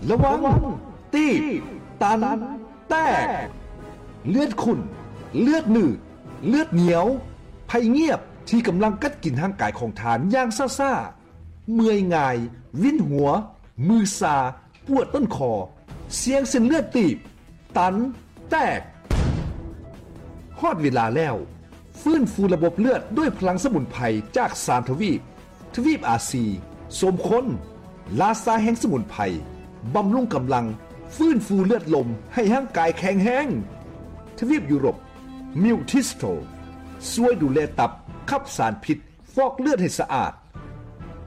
ລະວັງ ຕີບ ຕັນ ແຕກ. ເລືອດຂຸ້ນ, ເລືອດໜືດ, ເລືອດໜຽວ, ໄພງຽບທີ່ກຳລັງກັດກິນຮ່າງກາຍຂອງທ່ານຢ່າງຊ້າໆ, ເມື່ອຍງ່າຍ, ວິນຫົວ, ມືຊາ, ປວດຕົ້ນຄໍ, ສ່ຽງເສັ້ນເລືອດຕີບ, ຕັນ, ແຕກ. ຮອດເວລາແລ້ວ, ຟື້ນຟູລະບົບເລືອດດ້ວຍພະລັງສະໝຸນໄພຈາກສາມທະວີບ, ທະວີບອາຊີ, ສົມຄົນ, ລາຊາແຫ່ງສະໝຸນໄພ, ບຳລຸງກຳລັງ, ຟື້ນຟູເລືອດລົມໃຫ້ຮ່າງກາຍແຂງແຮງ. ທະວີບຢູໂຣບ, ມິວທິສໂຕ, ຊ່ວຍດູແລຕັບ, ຂັບສານພິດ, ຟອກເລືອດໃຫ້ສະອາດ.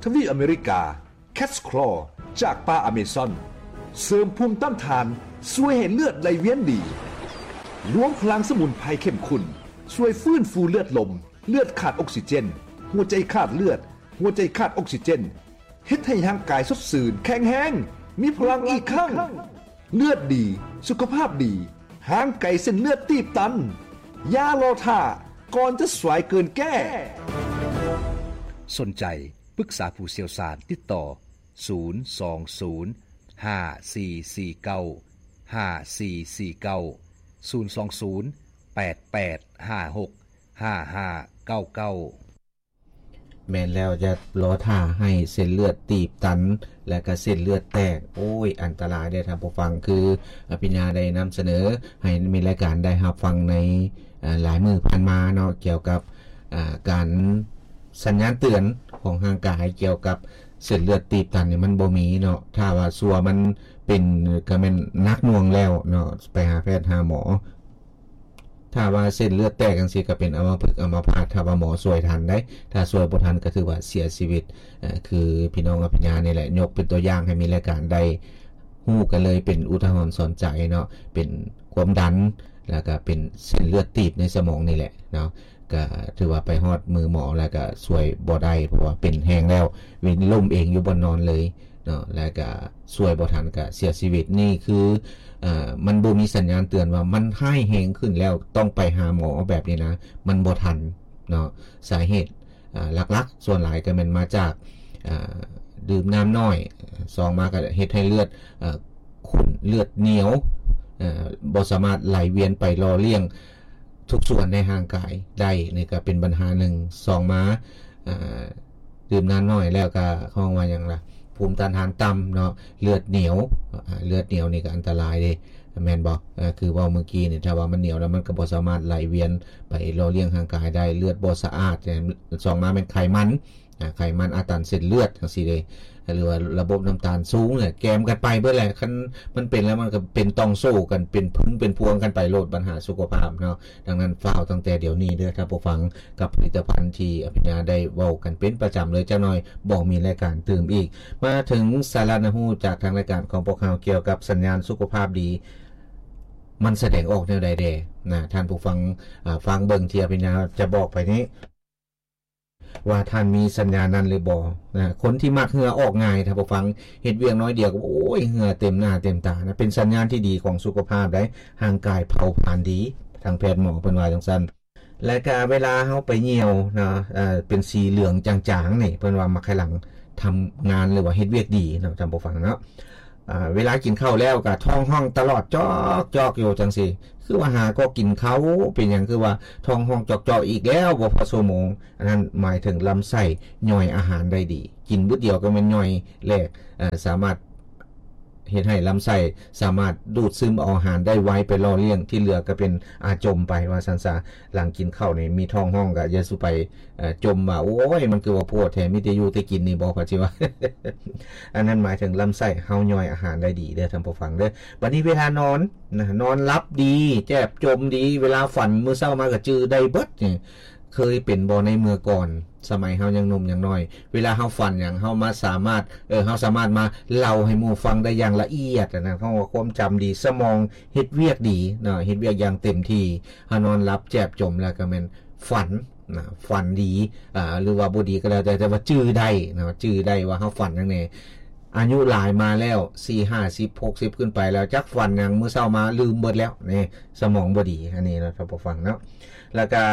ທະວີບອາເມລິກາ, ແຄດສະຄລໍຈາກປ່າອາເມຊອນ ເສີມພູມຕ້ານທານ, ຊ່ວຍໃຫ້ເລືອດໄຫຼວຽນດີ. ລວມພະລັງສະໝຸນໄພເຂັ້ມຂຸ້ນ ຊ່ວຍຟື້ນຟູເລືອດລົມ, ເລືອດຂາດອົກຊີເຈນ, ຫົວໃຈຂາດເລືອດ, ຫົວໃຈຂາດອົກຊີເຈນ, ເຮັດໃຫ້ຮ່າງກາຍສົດຊື່ນ, ແຂງແຮງ, ມີພະລັງອີກຄັ້ງ. ເລືອດດີ, ສຸຂະພາບດີ, ຫ່າງໄກເສັ້ນເລືອດຕີບຕັນ. ຢ່າລໍຖ້າ, ກ່ອນຈະສວຍເກີນແກ້. ສົນໃຈ ປຶກສາຜູ້ຊ່ຽວຊານ, ຕິດຕໍ່ ສູນສອງສູນ ຫ້າສີ່ສີ່ເກົ້າ ຫ້າສີ່ສີ່ເກົ້າ, ສູນສອງສູນ ແປດແປດຫ້າຫົກ ຫ້າຫ້າເກົ້າເກົ້າ. ແມ່ນແລ້ວ, ຢ່າລໍຖ້າໃຫ້ເສັ້ນເລືອດຕີບຕັນ ແລະກະເສັ້ນເລືອດແຕກ. ໂອ້ຍ ອັນຕະລາຍເດ້ທ່ານຜູ້ຟັງ. ຄືອະພິນຍາໄດ້ນຳສະເໜີໃຫ້ມີລາຍການໄດ້ຮັບຟັງໃນ ເອີ ຫຼາຍມື້ຜ່ານມາເນາະ ກ່ຽວກັບ ເອີ ການ ສັນຍານເຕືອນຂອງຮ່າງກາຍກ່ຽວກັບເສັ້ນເລືອດຕີບຕັນນີ້ມັນບໍ່ມີເນາະ. ຖ້າວ່າຊົ່ວມັນເປັນ ກະແມ່ນໜັກໜ່ວງແລ້ວເນາະ, ໄປຫາແພດຫາໝໍ. ຖ້າວ່າເສັ້ນເລືອດແຕກຈັ່ງຊີ້ ກະເປັນອຳມະພຶກອຳມະພາດ ຖ້າວ່າໝໍຊ່ວຍທັນໄດ໋. ຖ້າຊ່ວຍບໍ່ທັນ ກະຖືວ່າເສຍຊີວິດ. ເອີ ຄືພີ່ນ້ອງອະພິນຍານີ້ແຫຼະ ຍົກເປັນຕົວຢ່າງໃຫ້ມີລາຍການໄດ້ຮູ້ກັນເລີຍ ເປັນອຸທາຫອນສອນໃຈເນາະ, ເປັນຄວາມດັນ ແລ້ວກະເປັນເສັ້ນເລືອດຕີບໃນສະໝອງນີ້ແຫຼະເນາະ. ກະຖືວ່າໄປຮອດມືໝໍແລ້ວກະຊ່ວຍບໍ່ໄດ້ ເພາະວ່າເປັນແຮງແລ້ວ, ວິນລົ້ມເອງຢູ່ບ່ອນນອນເລີຍເນາະ, ແລ້ວກະຊ່ວຍບໍ່ທັນກະເສຍຊີວິດ. ນີ້ຄື ເອີ ມັນບໍ່ມີສັນຍານເຕືອນວ່າມັນຮ້າຍແຮງຂຶ້ນແລ້ວ ຕ້ອງໄປຫາໝໍແບບນີ້ນະ, ມັນບໍ່ທັນເນາະ. ສາເຫດ ອ່າ ຫຼັກໆ ສ່ວນຫຼາຍກໍແມ່ນມາຈາກ ອ່າ ດື່ມນ້ຳໜ້ອຍ, ສອງມາກໍເຮັດໃຫ້ເລືອດ ເອີ ຂຸ້ນ, ເລືອດໜຽວ, ເອີ ບໍ່ສາມາດໄຫຼວຽນໄປຫຼໍ່ລ້ຽງທຸກສ່ວນໃນຮ່າງກາຍໄດ້, ນີ້ກໍເປັນບັນຫາໜຶ່ງ. ສອງມາ ອ່າ ດື່ມນ້ຳໜ້ອຍແລ້ວກໍ ເຂົາເອີ້ນວ່າຫຍັງລະ ພູມຕ້ານທານຕ່ຳເນາະ, ເລືອດໜຽວ, ອ່າ ເລືອດໜຽວນີ້ກໍອັນຕະລາຍເດ້. ແມ່ນບໍ່? ເອີ ຄືເວົ້າມື້ກີ້ນີ້ ຖ້າວ່າມັນໜຽວແລ້ວ ມັນກໍບໍ່ສາມາດໄຫຼວຽນໄປຫຼໍ່ລ້ຽງຮ່າງກາຍໄດ້, ເລືອດບໍ່ສະອາດ. ສອງມາແມ່ນໄຂມັນ, ອາ ໄຂມັນອາດຕັນເສັ້ນເລືອດຈັ່ງຊີ້ເດ້, ຫຼືວ່າລະບົບນ້ຳຕານສູງເນຍ, ແກມກັນໄປເບິດແຫຼະ. ຄັນມັນເປັນແລ້ວ ມັນກໍເປັນຕ່ອງໂສ້ກັນ, ເປັນຜຶງເປັນພວງກັນໄປໂລດ, ບັນຫາສຸຂະພາບເນາະ. ດັ່ງນັ້ນ ຟ້າວຕັ້ງແຕ່ດຽວນີ້ເດີທ່ານຜູ້ຟັງ, ກັບຜະລິດຕະພັນທີ່ອະພິນຍາໄດ້ເວົ້າກັນເປັນປະຈຳເລີຍ. ຈັກໜ້ອຍບໍ່ມີລາຍການຕື່ມອີກ. ມາເຖິງສາລະໜ້າຮູ້ຈາກທາງລາຍການຂອງພວກເຮົາ ກ່ຽວກັບສັນຍານສຸຂະພາບດີ ມັນສະແດງອອກແນວໃດແດ່ນະ? ທ່ານຜູ້ຟັງ ອາ ຟັງເບິ່ງທີ່ອະພິນຍາຈະບອກໄປນີ້ ວ່າທ່ານມີສັນຍານນັ້ນຫຼືບໍ່ນະ? ຄົນທີ່ມັກເຫື່ອອອກງ່າຍ ທ່ານຜູ້ຟັງ, ເຮັດວຽກໜ້ອຍດຽວກໍ ໂອ້ຍ ເຫື່ອເຕັມໜ້າເຕັມຕານະ, ເປັນສັນຍານທີ່ດີຂອງສຸຂະພາບໄດ໋, ຮ່າງກາຍເຜົາຜານດີ, ທາງແພດໝໍເພິ່ນວ່າຈັ່ງຊັ້ນ. ແລະກະເວລາເຮົາໄປຍ່ຽວນະ ເປັນສີເຫຼືອງຈາງໆນີ້ ເພິ່ນວ່າໝາກໄຂ່ຫຼັງທຳງານ ຫຼືວ່າເຮັດວຽກດີເນາະ ທ່ານຜູ້ຟັງເນາະ. ເວລາກິນເຂົ້າແລ້ວກະທ້ອງຮ້ອງຕະຫຼອດ ຈອກໆຢູ່ຈັ່ງຊີ້, ຄືວ່າຫາກໍກິນເຂົ້າ ເປັນຫຍັງຄືວ່າທ້ອງຮ້ອງຈອກໆອີກແລ້ວ ບໍ່ພໍຊົ່ວໂມງ. ອັນນັ້ນໝາຍເຖິງລຳໄສ້ຍ່ອຍອາຫານໄດ້ດີ, ກິນບຶດດຽວກໍແມ່ນຍ່ອຍແຫຼກ, ສາມາດ ເຮັດໃຫ້ລຳໄສ້ສາມາດດູດຊຶມເອົາອາຫານໄດ້ໄວ ໄປຫຼໍ່ລ້ຽງ, ທີ່ເຫຼືອກໍເປັນອາຈົມໄປວ່າຊັ້ນຊະ. ຫຼັງກິນເຂົ້ານີ້ມີທ້ອງຮ້ອງກໍຢ່າສູ່ໄປ ເອີ ຈົ່ມວ່າ ໂອ້ຍ ມັນຄືວ່າໂພດແທ້ ມີແຕ່ຢູ່ແຕ່ກິນນີ້ບໍ່ ເຂົາຊິວ່າ. ອັນນັ້ນໝາຍເຖິງລຳໄສ້ເຮົາຍ່ອຍອາຫານໄດ້ດີເດີທ່ານຜູ້ຟັງເດີ. ບັດນີ້ເວລານອນນະ ນອນຫຼັບດີ ແຈບຈົມດີ, ເວລາຝັນມື້ເຊົ້າມາກໍຈື່ໄດ້ເບິດນີ້. ເຄີຍເປັນບໍ່ໃນເມື່ອກ່ອນ ສະໄໝເຮົາຍັງໜຸ່ມຍັງນ້ອຍ ເວລາເຮົາຝັນຫຍັງ ເຮົາມາສາມາດ ເອີ ເຮົາສາມາດມາເລົ່າໃຫ້ໝູ່ຟັງໄດ້ຢ່າງລະອຽດນະ, ເຮົາວ່າຄວາມຈຳດີ ສະໝອງເຮັດວຽກດີເນາະ, ເຮັດວຽກຢ່າງເຕັມທີ່. ເຮົານອນຫຼັບແຈບຈົມແລ້ວກໍແມ່ນຝັນນະ, ຝັນດີ ອາ ຫຼືວ່າບໍ່ດີກໍແລ້ວແຕ່ ແຕ່ວ່າຈື່ໄດ້ເນາະ, ຈື່ໄດ້ວ່າເຮົາຝັນຫຍັງແດ່. ອາຍຸຫຼາຍມາແລ້ວ ສີ່ ຫ້າສິບ ຫົກສິບຂຶ້ນໄປແລ້ວ ຈັກຝັນຫຍັງ ມື້ເຊົ້າມາລືມເບິດແລ້ວນີ້, ສະໝອງບໍ່ດີ. ອັນນີ້ເນາະ ທ່ານຜູ້ຟັງເນາະ, ແລ້ວກໍ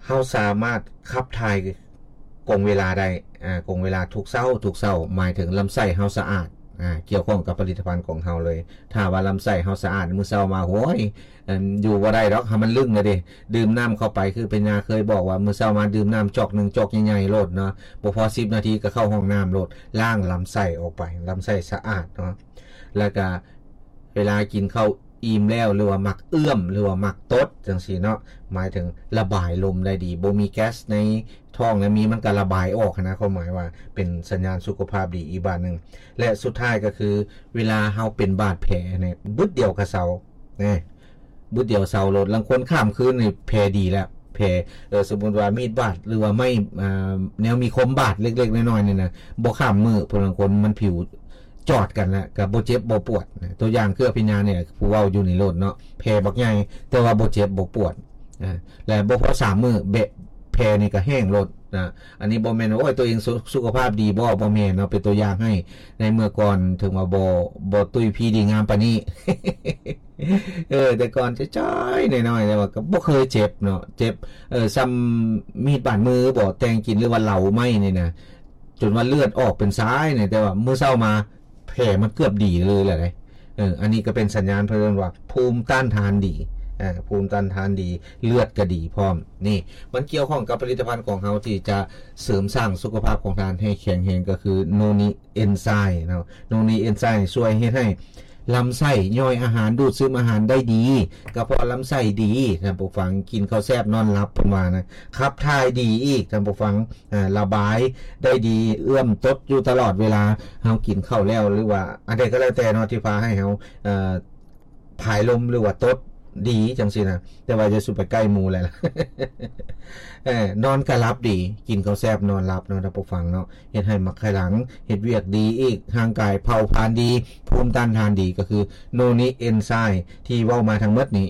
ເຮົາສາມາດຂັບຖ່າຍກົງເວລາໄດ້ ອາ ກົງເວລາທຸກເຊົ້າ ທຸກເຊົ້າ ໝາຍເຖິງລຳໄສ້ເຮົາສະອາດ ອ່າ ກ່ຽວຂ້ອງກັບຜະລິດຕະພັນຂອງເຮົາເລີຍ. ຖ້າວ່າລຳໄສ້ເຮົາສະອາດ ມື້ເຊົ້າມາ ໂອ້ຍ ອັນ ຢູ່ບໍ່ໄດ້ດອກ ຖ້າມັນລຶ້ງແລ້ວເດ. ດື່ມນ້ຳເຂົ້າໄປ ຄືພະຍາເຄີຍບອກວ່າ ມື້ເຊົ້າມາດື່ມນ້ຳຈອກໜຶ່ງ ຈອກໃຫຍ່ໆໂລດເນາະ, ບໍ່ພໍສິບນາທີກໍເຂົ້າຫ້ອງນ້ຳໂລດ, ລ້າງລຳໄສ້ອອກໄປ, ລຳໄສ້ສະອາດເນາະ. ແລ້ວກະເວລາກິນເຂົ້າອີ່ມແລ້ວ ຫຼືວ່າມັກເອື້ອມ ຫຼືວ່າມັກຕົດຈັ່ງຊີ້ເນາະ, ໝາຍເຖິງລະບາຍລົມໄດ້ດີ, ບໍ່ມີແກັສໃນທ້ອງ ແລະ ມີມັນກໍລະບາຍອອກຫັ້ນນະ, ຄວາມໝາຍວ່າເປັນສັນຍານສຸຂະພາບດີອີກບາດໜຶ່ງ. ແລະ ສຸດທ້າຍກໍຄື ເວລາເຮົາເປັນບາດແຜນີ້ ບຶດດຽວກໍເຊົາ ແນ່ ບຶດດຽວເຊົາໂລດ. ລາງຄົນຂ້າມຄືນນີ້ແຜດີແລ້ວ ແຜ ເອີ ສົມມຸດວ່າມີດບາດ ຫຼືວ່າໄມ້ ອ່າ ແນວມີຄົມບາດເລັກໆນ້ອຍໆນີ້ນະ ບໍ່ຂ້າມມື້. ຜູ້ລາງຄົນມັນຜິວຈອດກັນແລ້ວ ກໍບໍ່ເຈັບບໍ່ປວດນະ. ຕົວຢ່າງຄືອະພິນຍານີ້ ຜູ້ເວົ້າຢູ່ນີ້ໂລດເນາະ, ແຜບັກໃຫຍ່ ແຕ່ວ່າບໍ່ເຈັບບໍ່ປວດ ອ່າ ແລະ ບໍ່ພໍສາມມື້ ແບະ ແຜນີ້ກໍແຫ້ງໂລດນະ. ອັນນີ້ບໍ່ແມ່ນວ່າ ໂອ້ຍ ຕົວເອງສຸ ສຸຂະພາບດີບໍ່ ບໍ່ແມ່ນເນາະ, ເປັນຕົວຢ່າງໃຫ້. ໃນເມື່ອກ່ອນເຖິງວ່າບໍ່ ບໍ່ຕຸ້ຍພີດີງາມປານນີ້ ເອີ ແຕ່ກ່ອນຈ້ອຍໆນ້ອຍໆ ແຕ່ວ່າກໍບໍ່ເຄີຍເຈັບເນາະ, ເຈັບ ເອີ ສ່ຳມີດບາດມືບໍ່ ແຕ່ງກິນ ຫຼືວ່າເຫຼົາໄມ້ນີ້ນະ ຈົນວ່າເລືອດອອກເປັນສາຍນີ້, ແຕ່ວ່າມື້ເຊົ້າມາ ແຜມັນເກືອບດີເລີຍແຫຼະເດ້. ເອີ ອັນນີ້ກໍເປັນສັນຍານເພິ່ນວ່າພູມຕ້ານທານດີ, ເອີ ພູມຕ້ານທານດີ, ເລືອດກໍດີພ້ອມ. ນີ້ມັນກ່ຽວຂ້ອງກັບຜະລິດຕະພັນຂອງເຮົາທີ່ຈະເສີມສ້າງສຸຂະພາບຂອງທ່ານໃຫ້ແຂງແຮງ ກໍຄືໂນນິເອັນໄຊເນາະ. ໂນນິເອັນໄຊຊ່ວຍເຮັດໃຫ້ລຳໄສ້ຍ່ອຍອາຫານ, ດູດຊຶມອາຫານໄດ້ດີ, ກະເພາະລຳໄສ້ດີ ທ່ານຜູ້ຟັງ, ກິນເຂົ້າແຊບນອນຫຼັບ ເພິ່ນວ່ານະ, ຂັບຖ່າຍດີອີກ ທ່ານຜູ້ຟັງ. ອ່າ ລະບາຍໄດ້ດີ, ເອື້ອມຕົດຢູ່ຕະຫຼອດເວລາ ເຮົາກິນເຂົ້າແລ້ວ ຫຼືວ່າອັນໃດກໍແລ້ວແຕ່ເນາະ ທີ່ພາໃຫ້ເຮົາ ເອີ ຜາຍລົມ ຫຼືວ່າຕົດດີຈັ່ງຊີ້ນະ, ແຕ່ວ່າຢ່າສູ່ໄປໃກ້ໝູ່ແຫຼະ. ເອີ ນອນກໍຫຼັບດີ, ກິນເຂົ້າແຊບນອນຫຼັບເນາະ ທ່ານຜູ້ຟັງເນາະ, ເຮັດໃຫ້ໝັກໄຂ່ຫຼັງເຮັດວຽກດີອີກ, ຮ່າງກາຍເຜົາຜານດີ, ພູມຕ້ານທານດີ, ກໍຄືໂນນິເອັນໄຊທີ່ເວົ້າມາທັງໝົດນີ້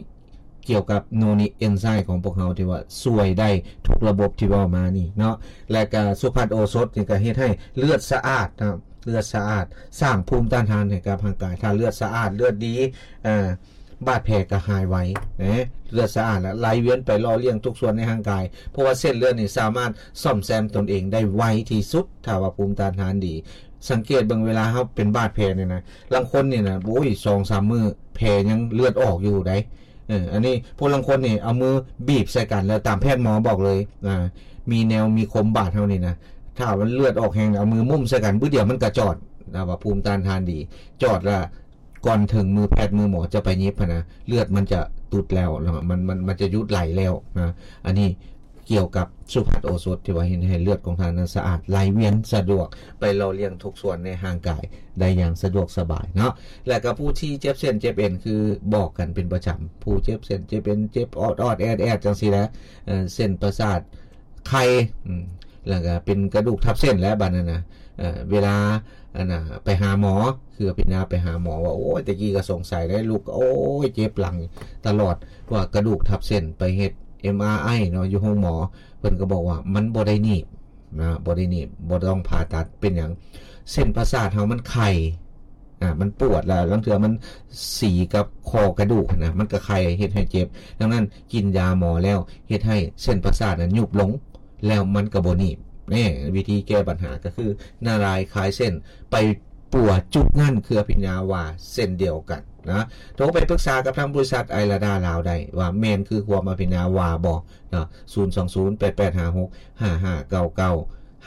ກ່ຽວກັບໂນນິເອັນໄຊຂອງພວກເຮົາ ທີ່ວ່າຊ່ວຍໄດ້ທຸກລະບົບທີ່ເວົ້າມານີ້ເນາະ. ແລະກະສຸພັດໂອສົດນີ້ກະເຮັດໃຫ້ເລືອດສະອາດເນາະ, ເລືອດສະອາດ ສ້າງພູມຕ້ານທານໃຫ້ກັບຮ່າງກາຍ. ຖ້າເລືອດສະອາດ ເລືອດດີ ເອີ ບາດແຜກະຫາຍໄວເນາະ, ເລືອດສະອາດ ແລະ ໄຫຼວຽນໄປຫຼໍ່ລ້ຽງທຸກສ່ວນໃນຮ່າງກາຍ, ເພາະວ່າເສັ້ນເລືອດນີ້ສາມາດສ້ອມແຊມຕົນເອງໄດ້ໄວທີ່ສຸດ ຖ້າວ່າພູມຕ້ານທານດີ. ສັງເກດເບິ່ງ ເວລາເຮົາເປັນບາດແຜນີ້ນະ, ລາງຄົນນີ້ນະ ໂອ້ຍ ສອງສາມມື້ແຜຍັງເລືອດອອກຢູ່ໃດ. ເອີ ອັນນີ້ຜູ້ລາງຄົນນີ້ເອົາມືບີບໃສ່ກັນ ແລ້ວຕາມແພດໝໍບອກເລີຍ ອ່າ ມີແນວມີຄົມບາດເຮົານີ້ນະ, ຖ້າມັນເລືອດອອກແຮງ ເອົາມືມຸ້ມໃສ່ກັນບຶດດຽວມັນກະຈອດ, ນະ ວ່າພູມຕ້ານທານດີ ຈອດລະ ກ່ອນເຖິງມືແພດມືໝໍຈະໄປຫຍິບຫັ້ນນະ ເລືອດມັນຈະຕຸດແລ້ວ ມັນ ມັນ ມັນຈະຢຸດໄຫຼແລ້ວນະ. ອັນນີ້ ກ່ຽວກັບສຸພັດໂອສົດ ທີ່ວ່າເຮັດໃຫ້ເລືອດຂອງທ່ານນັ້ນສະອາດ ໄຫຼວຽນສະດວກ ໄປຫຼໍ່ລ້ຽງທຸກສ່ວນໃນຮ່າງກາຍໄດ້ຢ່າງສະດວກສະບາຍເນາະ. ແລະກໍຜູ້ທີ່ເຈັບເສັ້ນເຈັບເອັນ ຄືບອກກັນເປັນປະຈຳ ຜູ້ເຈັບເສັ້ນເຈັບເອັນ ເຈັບອອດໆແອດໆ ຈັ່ງຊີ້ແຫຼະ ເອີ ເສັ້ນປະສາດໄຂ່ ອືມ ແລ້ວກໍເປັນກະດູກທັບເສັ້ນແຫຼະບາດນັ້ນນະ. ເອີ ເວລາ ອັນນ່າ ໄປຫາໝໍ ຄືອະພິນຍາໄປຫາໝໍວ່າ ໂອ້ຍ ແຕ່ກີ້ກໍສົງໄສເດ້ ລຸກ ໂອ້ຍ ເຈັບຫຼັງຕະຫຼອດ ວ່າກະດູກທັບເສັ້ນ. ໄປເຮັດເອັມອາໄອເນາະ ຢູ່ໂຮງໝໍ ເພິ່ນກໍບອກວ່າມັນບໍ່ໄດ້ໜີບນະ ບໍ່ໄດ້ໜີບ ບໍ່ຕ້ອງຜ່າຕັດ. ເປັນຫຍັງ? ເສັ້ນປະສາດເຮົາມັນໄຂ່ ອ່າ ມັນປວດ ແລ້ວລາງເທື່ອມັນສີກັບຂໍ້ກະດູກນະ ມັນກໍໄຂ່ເຮັດໃຫ້ເຈັບ. ດັ່ງນັ້ນ ກິນຢາໝໍແລ້ວ ເຮັດໃຫ້ເສັ້ນປະສາດນັ້ນຍຸບລົງ ແລ້ວມັນກໍບໍ່ໜີບ. ແນ່ ວິທີແກ້ບັນຫາກໍຄືນາລາຍຄາຍເສັ້ນ ໄປປົວຈຸດນັ້ນ ຄືອະພິນຍາວ່າເຊັ່ນດຽວກັນນະ. ໂທໄປປຶກສາກັບທາງບໍລິສັດໄອລາດາລາວໄດ້ ວ່າແມ່ນຄືຄວາມອະພິນຍາວ່າບໍ່ເນາະ. ສູນສອງສູນ ແປດແປດຫ້າຫົກ ຫ້າຫ້າເກົ້າເກົ້າ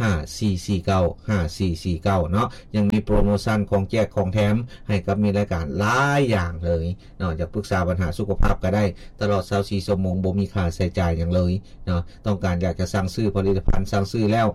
ຫ້າສີ່ສີ່ເກົ້າ ຫ້າສີ່ສີ່ເກົ້າ ເນາະ. ຍັງມີໂປຣໂມຊັນຂອງແຈກຂອງແຖມໃຫ້ກັບມິດລາຍການຫຼາຍຢ່າງເລີຍເນາະ. ຢາກປຶກສາບັນຫາສຸຂະພາບກໍໄດ້ ຕະຫຼອດຊາວສີ່ຊົ່ວໂມງ ບໍ່ມີຄ່າໃຊ້ຈ່າຍຫຍັງເລີຍເນາະ. ຕ້ອງການຢາກຈະສັ່ງຊື້ຜະລິດຕະພັນ ສັ່ງຊື້ແລ້ວ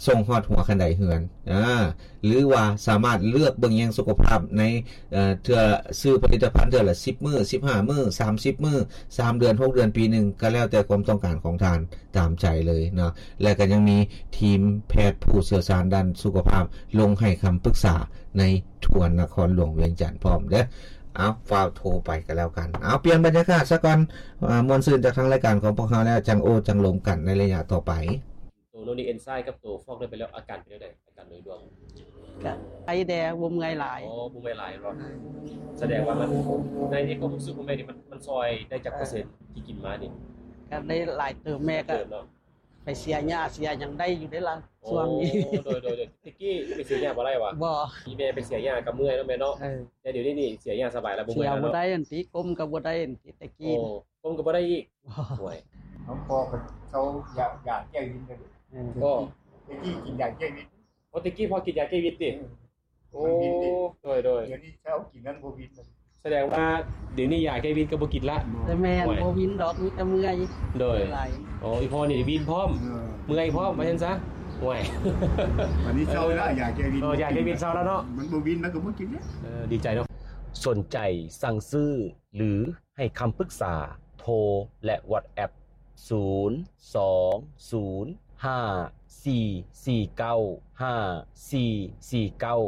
ສົ່ງຮອດຫົວຄັນໄດເຮືອນ ອາ ຫຼືວ່າສາມາດເລືອກເບິ່ງແຍງສຸຂະພາບໃນ ເອີ ເທື່ອຊື້ຜະລິດຕະພັນເທື່ອລະສິບມື້ ສິບຫ້າມື້ ສາມສິບມື້ ສາມເດືອນ ຫົກເດືອນ ປີໜຶ່ງ ກໍແລ້ວແຕ່ຄວາມຕ້ອງການຂອງທ່ານ ຕາມໃຈເລີຍເນາະ. ແລະກໍຍັງມີທີມແພດຜູ້ຊ່ຽວຊານດ້ານສຸຂະພາບລົງໃຫ້ຄຳປຶກສາໃນທົ່ວນະຄອນຫຼວງວຽງຈັນພ້ອມເດີ້. ເອົາ ຟ້າວໂທໄປກໍແລ້ວກັນ. ເອົາ ປ່ຽນບັນຍາກາດຊະກ່ອນ ອາ ມ່ວນຊື່ນຈາກທາງລາຍການຂອງພວກເຮົາແລ້ວ ຈັ່ງໂອ້ຈັ່ງລົມກັນໃນໄລຍະຕໍ່ໄປ. ໂຕໂນນີເອັນໄຊກັບໂຕຟອກເລືອດໄປແລ້ວ ອາການເປັນຈັ່ງໃດ? ອາການໂດຍລວມ ກະໄຄແດ່ ບໍ່ເມື່ອຍຫຼາຍ. ອໍ ບໍ່ເມື່ອຍຫຼາຍເນາະ. ສະແດງວ່າມັນ ໃນ ໃນຄວາມຮູ້ສຶກຂອງແມ່ນີ້ ມັນ ມັນຊ່ອຍໄດ້ຈັກເປີເຊັນທີ່ກິນມານີ້? ກະໄດ້ຫຼາຍເຕີບ ແມ່ກະ ເຕີບເນາະ. ໄປເສຍຫຍ້າເສຍຫຍັງໄດ້ຢູ່ເດ້ລະ ໂອ້ ຊ່ວງນີ້. ໂດຍ ໂດຍ ໂດຍ. ແຕ່ກີ້ໄປເສຍຫຍ້າບໍ່ໄດ້ຫວາ? ບໍ່. ອີ່ແມ່ໄປເສຍຫຍ້າກັບເມື່ອຍເນາະແມ່ເນາະ. ເອີ ແຕ່ດຽວນີ້ນີ້ເສຍຫຍ້າສະບາຍລະ ບໍ່ເມື່ອຍລະເນາະ. ເສຍບໍ່ໄດ້ ອັນຕິ ກົ້ມກໍບໍ່ໄດ້ ອັນຕິ ແຕ່ກີ້. ໂອ້ ກົ້ມກໍບໍ່ໄດ້ອີກ. ໂອ້ຍ ນ້ອງພໍ່ກໍເຊົາຢາ ຢາແກ້ວິນໄປເລີຍ. ເອີ ໂອ້ ແຕ່ກີ້ກິນຢາແກ້ວິນ. ໂອ້ ແຕ່ກີ້ພໍ່ກິນຢາແກ້ວິນຕິ? ເອີ ໂອ້ ມັນວິນເດ້. ໂດຍ ໂດຍ. ດຽວນີ້ເຊົາກິນນັ້ນບໍ່ວິນ. ສະແດງວ່າດຽວນີ້ຢາແກ້ວິນກໍບໍ່ກິນລະ. ແຕ່ແມ່ນ ໂອ້ຍ ບໍ່ວິນດອກ ມີແຕ່ເມື່ອຍ. ໂດຍ. ໂອ້ ອີ່ພໍ່ນີ້ວິນພ້ອມ ເອີ ເມື່ອຍພ້ອມ ວ່າຊັ້ນຊະ. ໂອ້ຍ ບັດນີ້ເຊົາແລ້ວ ຢາແກ້ວິນ. ເອີ ຢາແກ້ວິນເຊົາແລ້ວເນາະ. ມັນບໍ່ວິນ ມັນກໍບໍ່ກິນເດ້. ເອີ ດີໃຈເນາະ. ສົນໃຈສັ່ງຊື້ ຫຼື ໃຫ້ຄຳປຶກສາ ໂທ ແລະ WhatsApp ສູນ ສອງ ສູນ ຫ້າ ສີ່ ສີ່ ເກົ້າ ຫ້າ ສີ່ ສີ່ ເກົ້າ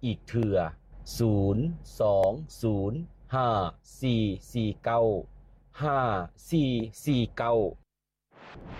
ອີກເທື່ອ ສູນ ສອງ ສູນ ຫ້າ ສີ່ ສີ່ ເກົ້າ ຫ້າ ສີ່ ສີ່ ເກົ້າ.